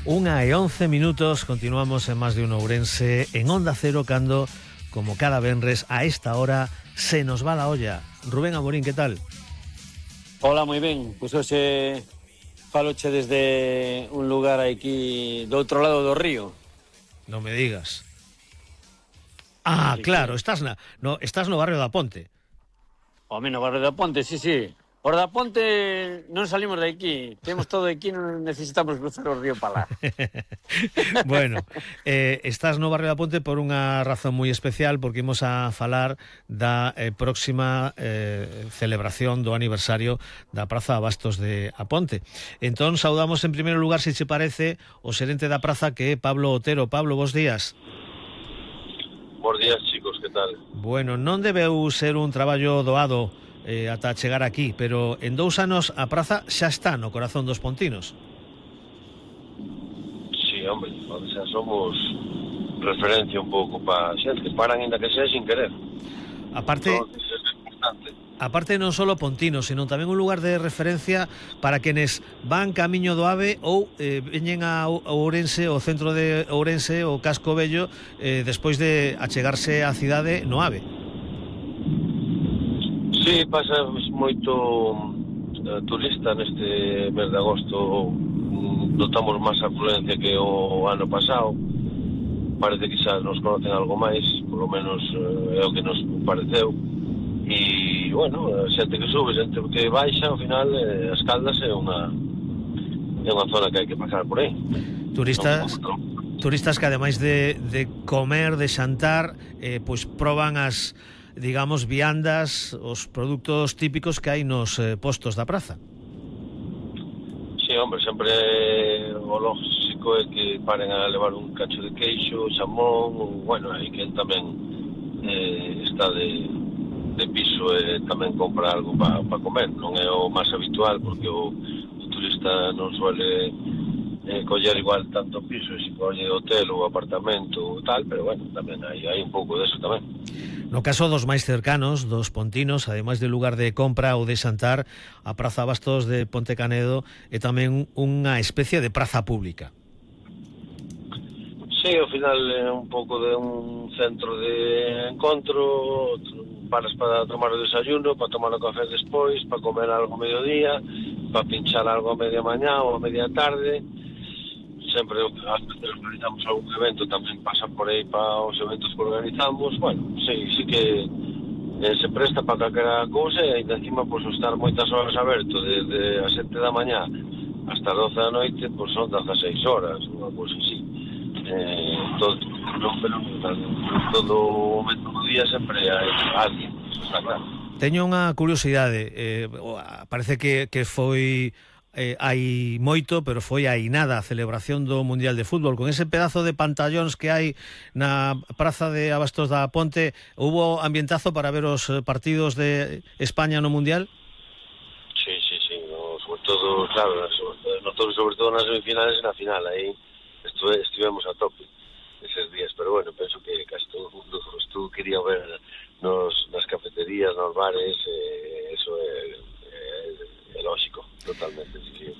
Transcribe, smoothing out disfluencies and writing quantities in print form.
1:11, continuamos en Más de Uno Ourense, en Onda Cero, cando, como cada venres, a esta hora, se nos va la olla. Rubén Amorín, ¿qué tal? Hola, moi ben. Pois hoxe faloche desde un lugar aquí do outro lado do río. Non me digas. Ah, claro, estás no barrio da Ponte. Home, no barrio da Ponte, sí. Por da Ponte non salimos de aquí. Temos todo aquí, non necesitamos cruzar o río para lá. Bueno, estás no barrio da Ponte por unha razón moi especial, porque imos a falar da próxima celebración do aniversario da Praza Abastos de A Ponte. Entón, saudamos en primeiro lugar, se che parece, o xerente da praza, que é Pablo Otero. Pablo, bos días. Bos días, chicos, que tal? Bueno, non debeu ser un traballo doado ata chegar aquí, pero en 2 anos a praza xa está no corazón dos pontinos. Sí, hombre, xa somos referencia un pouco para xente, paran ainda que sea sin querer. Aparte non só pontinos, senón tamén un lugar de referencia para quenes van camiño do AVE ou veñen a Ourense, o centro de Ourense, o Casco Vello, despois de achegarse á cidade no AVE. Sí, pasa moito turista neste mes de agosto. Notamos máis afluencia que o ano pasado. Parece que xa nos conocen algo máis, por lo menos é o que nos pareceu. E, bueno, xente que sube, xente que baixa, ao final, as Caldas é unha zona que hai que pasar por aí. Turistas que, ademais de comer, de xantar, pois proban as, digamos, viandas, os produtos típicos que hai nos postos da praza. Sí, hombre, sempre o lógico é que paren a levar un cacho de queixo, xamón, bueno, hai quen tamén está de piso e tamén compra algo para comer. Non é o máis habitual, porque o turista non suele coller igual tanto piso, se colle hotel ou apartamento ou tal, pero bueno, tamén hai un pouco deso tamén. No caso dos máis cercanos, dos pontinos, ademais de lugar de compra ou de xantar, a Praza Abastos de Ponte Canedo é tamén unha especie de praza pública. Sí, ao final é un pouco de un centro de encontro, paras para tomar o desayuno, para tomar o café despois, para comer algo a mediodía, para pinchar algo a media mañá ou a media tarde. Sempre ás veces organizamos algún evento, tamén pasan por aí para os eventos que organizamos. Bueno, sí que se presta para calquera cousa, e ainda encima, pois, estar moitas horas aberto desde as 7 da mañá hasta as 12 da noite, pois son 16 horas, unha cousa así. Todo o momento do día sempre hai alguén, está claro. Teño unha curiosidade, parece que foi hai moito, pero foi aí nada a celebración do Mundial de Fútbol, con ese pedazo de pantallóns que hai na Praza de Abastos da Ponte. Hubo ambientazo para ver os partidos de España no Mundial? Sí, sobre todo, claro, sobre todo nas semifinales e na final, aí estivemos a tope eses días, pero bueno, penso que casi todo o mundo quería ver nas cafeterías, nos bares, eso é lógico, totalmente, sí.